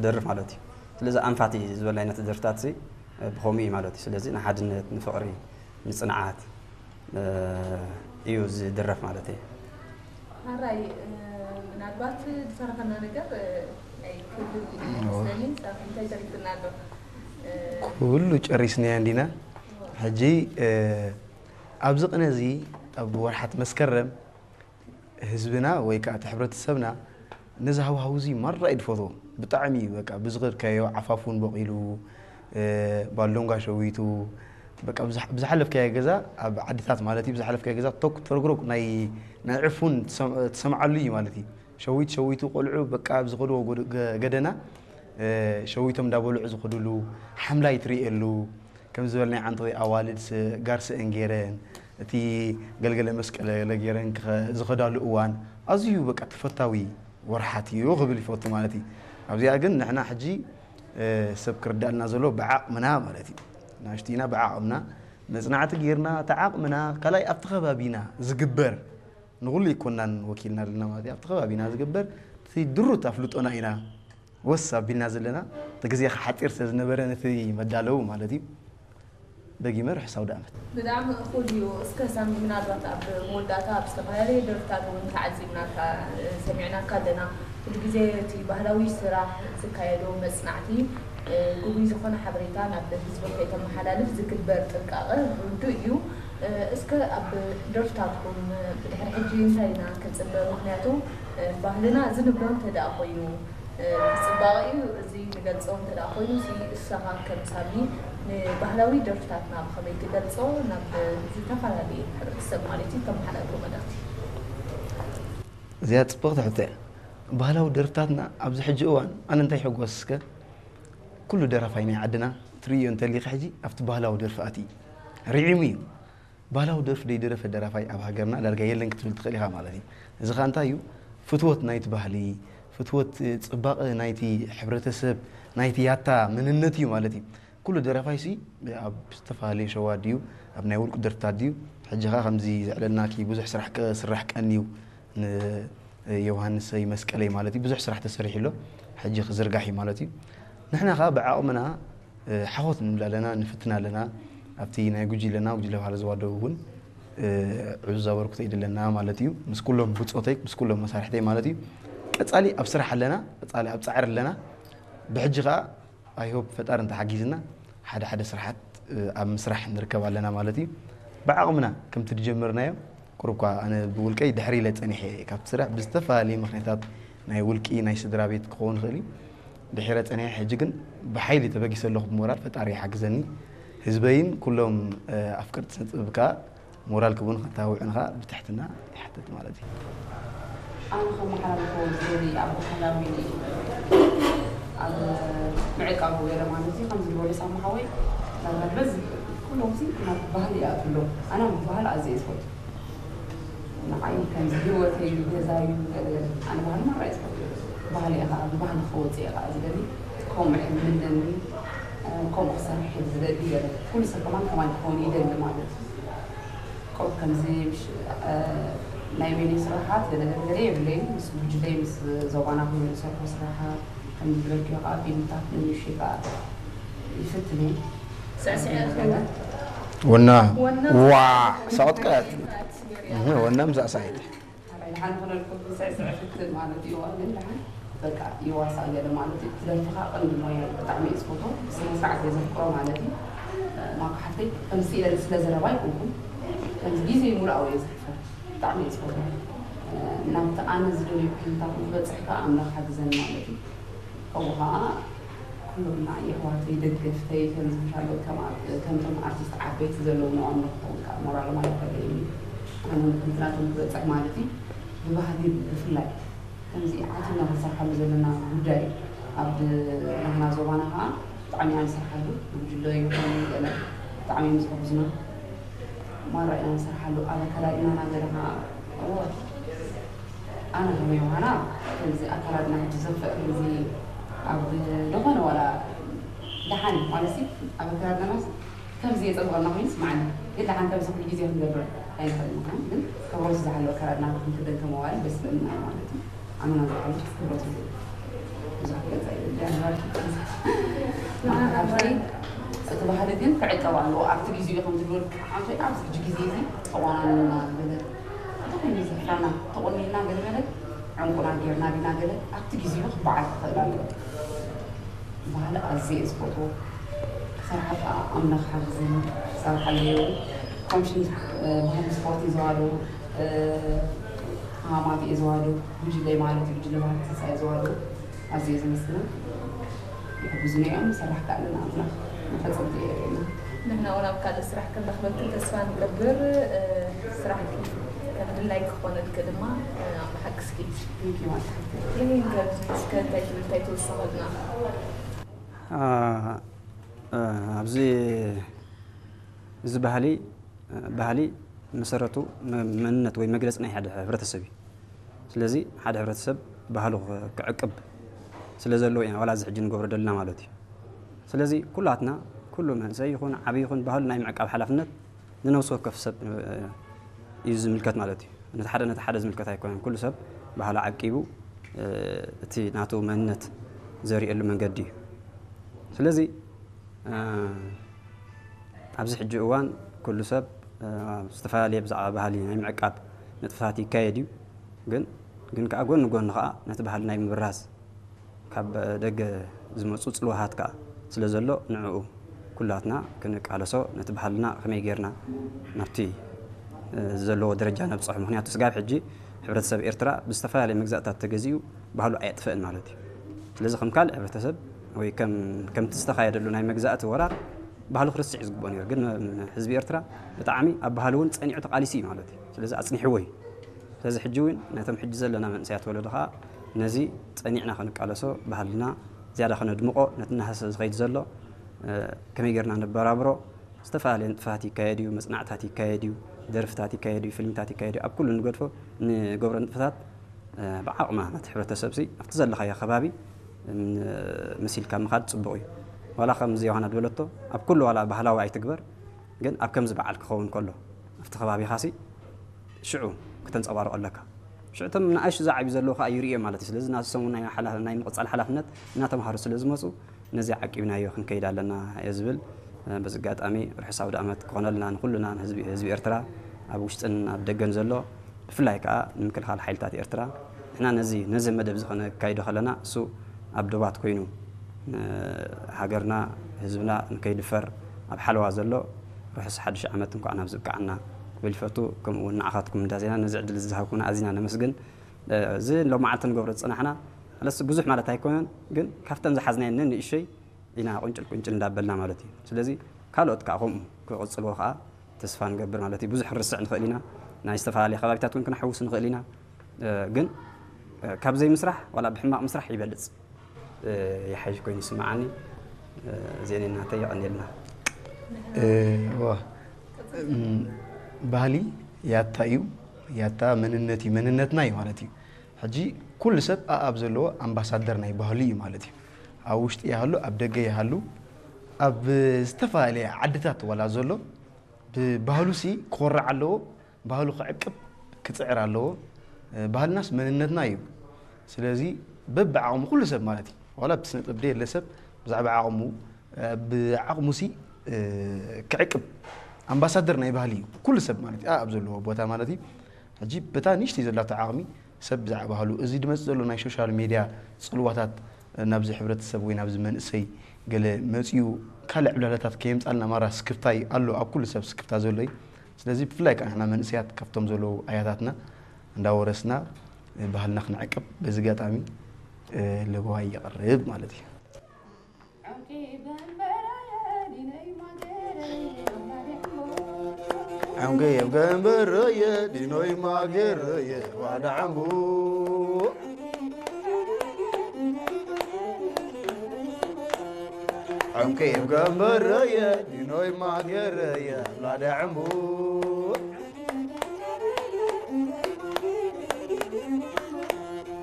ደርፍ ማለት እዩ። ስለዚ ኣንፋቲ ዝበል ዓይነት ደርፍታት ሲ ብኸምኡ እዩ ማለት እዩ። ስለዚ ንሓድነት፣ ንፍቕሪ፣ ንጽንዓት እዩ ዝድረፍ ማለት እዩ። ሓራይ ምናልባት ዝተረፈና ነገር ናይ ክልል ይመስለኒ። እንታይ ተሪፍና ኣሎ? ኩሉ ጨሪስናዮ እንዲና። ሕጂ ኣብዚ ቅነ እዚ ኣብ ወርሓት መስከረም ህዝብና ወይ ከዓ እቲ ሕብረተሰብና ነዚ ሃዋህው እዚ ማራ እዩ ዝፈትዎ። ብጣዕሚ እዩ በቃ ብዝኸድካዮ ዓፋፉን በቂሉ ባሎንጋ ሸዊቱ በቃ ብዝሓለፍካዮ ገዛ ኣብ ዓድታት ማለት እዩ ብዝሓለፍካዮ ገዛ ቶክ ተረግሮግ ናይ ናይ ዕፉን ትሰምዓሉ እዩ ማለት እዩ። ሸዊት ሸዊቱ ቆልዑ በቃ ኣብ ዝኸድዎ ገደና ሸዊቶም እንዳበልዑ ዝኸድሉ ሓምላይ ትርእየሉ ከም ዝበልናይ ዓንተኺ ኣዋልድ ጋር ስእን ገይረን እቲ ገልገለ መስቀለ ገለ ገይረን ዝኸዳሉ እዋን ኣዝዩ በቃ ተፈታዊ ወርሓት እዩ ክብል ይፈቱ ማለት እዩ። ኣብዚኣ ግን ንሕና ሕጂ ሰብ ክርዳእልና ዘሎ ብዓቕምና ማለት እዩ ናሽቲና ብዓቕምና መፅናዕቲ ገይርና እቲ ዓቕምና ካልኣይ ኣብቲ ከባቢና ዝግበር ንኹሉ ይኮናን ወኪልና ዘለና ማለት እዩ ኣብቲ ከባቢና ዝግበር እቲ ድሩት ኣፍልጦና ኢና ወስ ኣቢልና ዘለና እቲ ግዜ ሓፂር ስለ ዝነበረ ነቲ መዳለዊ ማለት እዩ ደጊመ ርሕሳው ዳእመት ብጣዕሚ እኹል እዩ። እስከ ሳሚ ምናልባት ኣብ መወዳእታ ኣብ ዝተፈላለየ ደርፍታት እውን ተዓዚብናካ ሰሚዕናካ ኣለና። ኩሉ ግዜ እቲ ባህላዊ ስራሕ ዝካየዶ መፅናዕቲ ግጉይ ዝኾነ ሓበሬታ ናብ ህዝቢ ከይተመሓላልፍ ዝግበር ጥንቃቐ ርዱእ እዩ። እስከ ኣብ ደርፍታትኩም ብድሕሪ ሕጂ እንታይ ኢና ክንፅበ? ምክንያቱ ባህልና እዚ ንብሎ እንተደኣ ኮይኑ ፅባቐ እዩ እዚ ንገልፆ እንተ ኮይኑ ሲ እሳኻ ከም ሳሚ ንባህላዊ ደርፍታትና ብኸመይ ትገልፆ ናብ ዝተፈላለዩ ሕብረተሰብ ማለት እዩ ተመሓላልፎ መልእኽቲ እዚኣ ፅብቕቲ ሕቶ እያ። ባህላዊ ደርፍታትና ኣብዚ ሕጂ እዋን ኣነ እንታይ ይሕጎስ እስከ ኩሉ ደራፋይ ናይ ዓድና ትርእዮ እንተሊካ ሕጂ ኣብቲ ባህላዊ ደርፊ ኣትዩ ርዒሙ እዩ። ባህላዊ ደርፊ ደይደረፈ ደራፋይ ኣብ ሃገርና ዳርጋ የለን ክትብል ትኽእል ኢኻ ማለት እዩ። እዚ ኸዓ እንታይ እዩ? ፍትወት ናይቲ ባህሊ፣ ፍትወት ፅባቐ ናይቲ ሕብረተሰብ፣ ናይቲ ያታ መንነት እዩ ማለት እዩ። ኩሉ ደራፋይ ሲ ኣብ ዝተፈላለየ ሸዋ ድዩ ኣብ ናይ ውልቁ ደርፍታት ድዩ? ሕጂ ኸዓ ከምዚ ዘዕለልናኪ ብዙሕ ስራሕ ክስራሕ ቀንዩ ንዮሃንሰይ መስቀለይ ማለት እዩ ብዙሕ ስራሕ ተሰሪሑ ኣሎ። ሕጂ ክዝርጋሕ እዩ ማለት እዩ። ንሕና ኸዓ ብዓቕምና ሓኾት ንብል ኣለና፣ ንፍትን ኣለና። ኣብቲ ናይ ጉጅለና፣ ጉጅለ ባህሊ ዞባ ደቡብ እውን ዕዙዝ ኣበርክቶ እዩ ዘለና ማለት እዩ። ምስ ኩሎም ብፆተይ፣ ምስ ኩሎም መሳርሕተይ ማለት እዩ። ቀፃሊ ኣብ ስራሕ ኣለና፣ ቀፃሊ ኣብ ፃዕሪ ኣለና። ብሕጂ ከዓ ኣይሆፕ ፈጣሪ እንተሓጊዝና ሓደ ሓደ ስራሓት ኣብ ምስራሕ ንርከብ ኣለና ማለት እዩ። ብዓቕምና ከምቲ ዝጀመርናዮ ቁሩብ እኳ ኣነ ብውልቀይ ድሕር ኢለ ፀኒሐ እየ ካብቲ ስራሕ ብዝተፈላለየ ምኽንያታት ናይ ውልቂ ናይ ስድራ ቤት ክኸውን ይኽእል እዩ ድሒረ ፀኒሐ ሕጂ ግን ብሓይሊ ተበጊሰ ኣለኹ ብሞራል ፈጣሪ ይሓግዘኒ ህዝበይን ኩሎም ኣፍቀርቲ ስነ ጥበብ ከዓ ሞራል ክቡን ከታውዕን ከዓ ብትሕትና ይሓትት ማለት እዩ። ኣነ ከመሓላልፎ ዝደሊ ኣብ ባህላዊ ኣብ ምዕቃቡ ገለ ማለት እዩ ከምዚ ዝበሉ ሳሙ ሓወይ ናብራ ዝበዝሕ ኩሎም ሲ ናብ ባህሊ ይኣትውሎም ኣነ ባህሊ ኣዝየ ዝፈቱ ንዓይ ከምዚ ህይወተይ ገዛዩ ገለገለ ኣነ ባህሊ ማራ እየ ዝፈቱ ባህሊ እየ ከዓ ብባህሊ ክወፅእ እየ ከዓ ዝደሊ ከምኡ ሕልሚ ኣለኒ ከምኡ ክሰርሕ እየ ዝደሊ ገለ ኩሉ ሰብ ከማን ከማይ ክኸውን ይደሊ ማለት እዩ ቆብ ከምዚ ናይ ሜኒ ስራሓት ገለገለ የብለይን ምስ ጉጅለይ ምስ ዞባና ኮይኑ ዝሰርሑ ስራሓት ከም ዝበልክዮ ከዓ ፊልምታት ንምሽ ከዓ ይፍትን እየ ስዕስዕ ወና ዋ ሳቕጥቃያት ወና ምሳእሳይት ሓንቲ ክነልኩም ስዕስዕ ፍትን ማለት እዩ ግን ደሓን በቃ ይዋሳ ገለ ማለት እዩ ትደርፍኻ ቀንዲ ሞያ እዩ ብጣዕሚ እዩ ዝፈቶ ብስነ ስርዓት እየ ዘፍቅሮ ማለት እዩ ማካ ሓፍተይ ከምዚ ኢለ ስለ ዘረባ ይኮንኩም ከምዚ ግዜ ሙሉእ ኣው እየ ዘሕፈር ብጣዕሚ እየ ዝፈቶ ናብቲ ኣነ ዝደልዮ ኩነታት ንክበፅሕ ከዓ ኣምላኽ ሓግዘኒ ማለት እዩ ከምኡ ከዓ ኩሎም ንዓይ ኣሕዋተይ ደገፍተይ ከምዚ ምሻሎ ከምቶም ኣርቲስት ዓበይቲ ዘለዉ ንኦም ንክኸውን ከዓ ሞራሎም ኣይፈለየኒ ኣነ ንክንትናቶም ክበፅሕ ማለት እዩ ብባህሊ ብፍላይ ከምዚ ዓቲብና ክንሰርሓሉ ዘለና ጉዳይ ኣብ ናህና ዞባና ከዓ ብጣዕሚ ኢና ንሰርሓሉ ብጉጅለ ይኹን ገለ ብጣዕሚ እዮም ዝሕግዙና ማራ ኢና ንሰርሓሉ ኣብ ኣከዳድናና ገለ ከዓ እወ ኣነ ከመይ ምዃና ከምዚ ኣከዳድና ሕጂ ዘፍዕ ከምዚ ኣብ ዝኾነ ዋላ ደሓን ማለት ኣብ ኣከዳድናና ከምዚ የፀብቐና ኮይኑ ይስማዓኒ ግን ደሓን ከምዚ ኩሉ ግዜ ክንገብር ኣይንኽእል ምዃን ግን ክብረቱ ዝሓለወ ኣከዳድና ክንክደን ከመዋል ደስ ዝብለና ማለት እዩ ኣመና ዝሓለፍ ክብረቱ ብዙሕ ገዛ የለን። ንዓና እቲ ባህሊ ግን ክዕቀብ ኣለዎ። ኣብቲ ግዜኡ ከም ትብሎ ልክዕ፣ ኣንፈይ ኣብዚ ሕጂ ግዜ እዚ ተቆናኒና ገለ እንተኾይኑ ዘፍራና ተቆኒና ገለ መለ ዕንቁና ጌርና ዲና ገለ ኣብቲ ግዜኡ ክበዓል ክኽእል ኣለዎ። ባህሊ ኣዝየ እየ ዝፈትዎ። ክሰርሓ ከኣ ኣምላኽ ሓግዝኒ ክሰርሓለዮ። ኮምሽን ባህሊ ስፖርት እዩ ዘዋዶ ሃማት እየ ዘዋዶ ጉጅለይ ማለት እዩ። ጉጅለ ባህሊ ተስፋ እየ ዘዋዶ ኣዝየ ዘመስግኖም። ይሕግዙና እዮም። ሰራሕ ከኣለና ኣምላኽ መፈጸምቲ የርእየና። ንሕና እውን ኣብ ካልእ ስራሕ ክንረኽበኪ ተስፋ ንገብር። እ፣ ስራሕኪ ከም ድላይ ክኾነልኪ ድማ፣ እ፣ ኣመሓግስኪ። Thank you ማለት እዩ። ይህን ከብዚ እስከ እንታይ ትብል፣ እንታይ ትውስኸልና? አ፣ እ፣ ኣብዚ እዚ ባህሊ፣ እ፣ ባህሊ መሰረቱ መ-፣ መንነት ወይ መግለጺ ናይ ሓደ ሕብረተሰብ እዩ። ስለዚ ሓደ ሕብረተሰብ ባህሉ ክ-፣ ክዕቅብ ስለ ዘለዎ ኢና ዋላ እዚ ሕጂ ንገብሮ ዘለና ማለት እዩ። ስለዚ ኩላትና፣ ኩሉ መንእሰይ ይኹን ዓቢ ይኹን ባህሉ ናይ ምዕቃብ ሓላፍነት ንነፍሲ ወከፍ ሰብ፣ እ፣ እዩ ዝምልከት ማለት እዩ። ነቲ ሓደ ነቲ ሓደ ዝምልከት ኣይኮነን። ኩሉ ሰብ ባህሉ ዓቂቡ፣ እ፣ እቲ ናቱ መንነት ዘርእየሉ መንገዲ እዩ። ስለዚ፣ እ፣ ኣብዚ ሕጂ እዋን ኩሉ ሰብ፣ እ፣ ዝተፈላለየ ብዛዕባ ባህሊ ናይ ምዕቃብ ንጥፈታት ይካየድ እዩ። ግን፣ ግን ከኣ ጎኒ ጎኒ ከኣ ነቲ ባህሊ ናይ ምብራዝ ካብ ደገ ዝመጹ ጽልዋታት ከኣ ስለ ዘሎ ንዕኡ ኩላትና ክንቃለሶ ነቲ ባህልና ከመይ ጌርና ናብቲ፣ እ፣ ዘለዎ ደረጃ ነብጽሖ። ምኽንያቱ ስጋብ ሕጂ ሕብረተሰብ ኤርትራ ብዝተፈላለየ መግዛእታት ተገዚኡ ባህሉ ኣየጥፍእን ማለት እዩ። ስለዚ ከም ካልእ ሕብረተሰብ ወይ ከም፣ ከምቲ ዝተኻየደሉ ናይ መግዛእቲ ወራር ባህሉ ክርስዕ እዩ ዝግብኦ ነይሩ። ግን ህዝቢ ኤርትራ ብጣዕሚ ኣብ ባህሉ እውን ጸኒዑ ተቓሊሱ እዩ ማለት እዩ። ስለዚ ኣጽኒሕዎ እዩ። ስለዚ ሕጂ እውን ነቶም ሕጂ ዘለና መንእሰያት ወለዶ ኸዓ ነዚ ጸኒዕና ክንቃለሶ፣ ባህልና ዝያዳ ከነድምቖ፣ ነቲ እናሃሰ ዝኸይድ ዘሎ፣ እ፣ ከመይ ጌርና ነበራብሮ? ዝተፈላለየ ንጥፈታት ይካየድ እዩ፣ መጽናዕትታት ይካየድ እዩ፣ ደርፍታት ይካየድ እዩ፣ ፊልምታት ይካየድ እዩ። ኣብ ኩሉ ንገድፎ ንገብሮ ንጥፈታት፣ እ፣ ብዓቕማ ነቲ ሕብረተሰብሲ ኣብቲ ዘለኻዮ ከባቢ፣ እ፣ መሲልካ ምኻድ ጽቡቕ እዩ። ዋላ ከምዚ ዮሃና ዝበለቶ ኣብ ኩሉ ዋላ ባህላዊ ኣይትግበር፣ ግን ኣብ ከምዚ በዓል ክኸውን ከሎ ኣብቲ ከባቢኻሲ ሽዑ ክተንጸባርቖ ኣለካ። ሽዑ እቶም ንኣሽቱ ዝዓብዩ ዘለዉ ከኣ ይርእዮ ማለት እዩ። ስለዚ ናሶም እውን ናይ ሓላ-፣ ናይ ምቕጻል ሓላፍነት እናተምሃሩ ስለ ዝመጹ ነዚ ዓቂብናዮ ክንከይድ ኣለና እየ ዝብል። በዚ ኣጋጣሚ ርሑስ ኣውደ ዓመት ክኾነልና ንኹልና ንህዝቢ፣ ህዝቢ ኤርትራ ኣብ ውሽጥን ኣብ ደገን ዘሎ ብፍላይ ከኣ ንምክልኻል ሓይልታት ኤርትራ ንሕና ነዚ፣ ነዚ መደብ እዚ ከነካይዶ ከለና እሱ ኣብ ዶባት ኮይኑ ን-፣ ሃገርና ህዝብና ንከይድፈር ኣብ ሓለዋ ዘሎ ርሑስ ሓድሽ ዓመት እንኳዕ ናብ ዝበቅዓና ክብል ይፈቱ። ከምኡ እውን ንዓኻትኩም እንዳ ዜና ነዚ ዕድል ዝሃብኩምና ኣዚና ነመስግን። እ፣ እዚ ሎም መዓልቲ ንገብሮ ዝጸናሕና ኣለስ ብዙሕ ማለት ኣይኮነን፣ ግን ካብተን ዝሓዝናየን ንእሽተይ ኢና ቁንጭል ቁንጭል እንዳበልና ማለት እዩ። ስለዚ ካልኦት ከኣ ከምኡ ክቕጽልዎ ከኣ ተስፋ ንገብር ማለት እዩ። ብዙሕ ክንርስዕ ንኽእል ኢና፣ ናይ ዝተፈላለየ ከባቢታት እውን ክንሕውስ ንኽእል ኢና። እ፣ ግን፣ እ፣ ካብ ዘይምስራሕ ዋላ ብሕማቕ ምስራሕ ይበልጽ፣ እ፣ ይሓይሽ ኮይኑ ይስምዓኒ። እ፣ እዚአን ናተይ የቐንየልና። እ፣ ዋ፣ እም፣ ባህሊ ያታ እዩ፣ ያታ መንነት እዩ፣ መንነትና እዩ ማለት እዩ። ሕጂ ኩሉ ሰብ ኣኣብ ዘለዎ ኣምባሳደር ናይ ባህሉ እዩ ማለት እዩ። ኣብ ውሽጢ ይሃሉ፣ ኣብ ደገ ይሃሉ፣ ኣብ ዝተፈላለየ ዓድታት ዋላ ዘሎ ብባህሉሲ ክኾርዕ ኣለዎ፣ ባህሉ ክዕቅብ ክጽዕር ኣለዎ። እ፣ ባህልናስ መንነትና እዩ። ስለዚ በብዓቕሙ ኩሉ ሰብ ማለት እዩ፣ ዋላ ብስነ ጥበብ ደየለ ሰብ ብዛዕባ ዓቕሙ፣ እ፣ ብዓቕሙሲ፣ እ፣ ክዕቅብ ኣምባሳደር ናይ ባህሊ እዩ ኩሉ ሰብ ማለት እዩ፣ ኣብ ዘለዎ ቦታ ማለት እዩ። ሕጂ በታ ንእሽተይ ዘላቶ ዓቕሚ ሰብ ብዛዕባ ባህሉ፣ እዚ ድመጽእ ዘሎ ናይ ሶሻል ሜድያ ጽልዋታት ናብዚ ሕብረተሰብ ወይ ናብዚ መንእሰይ ገለ መጺኡ ካልእ ዕብላላታት ከየምጻልና ማራ ስክፍታ እዩ ኣሎ፣ ኣብ ኩሉ ሰብ ስክፍታ ዘሎ እዩ። ስለዚ ብፍላይ ከኣ ንሕና መንእሰያት ካብቶም ዘለዉ ኣያታትና እንዳወረስና ባህልና ክንዕቅብ በዚ ኣጋጣሚ ለበዋይ የቕርብ ማለት እዩ። ዐንገየብ ገንበረየ ዲኖይ ማገረየ ዋዳዓምቡ። ዐንገየብ ገንበረየ ዲኖይ ማገረየ ላዳዓምቡ።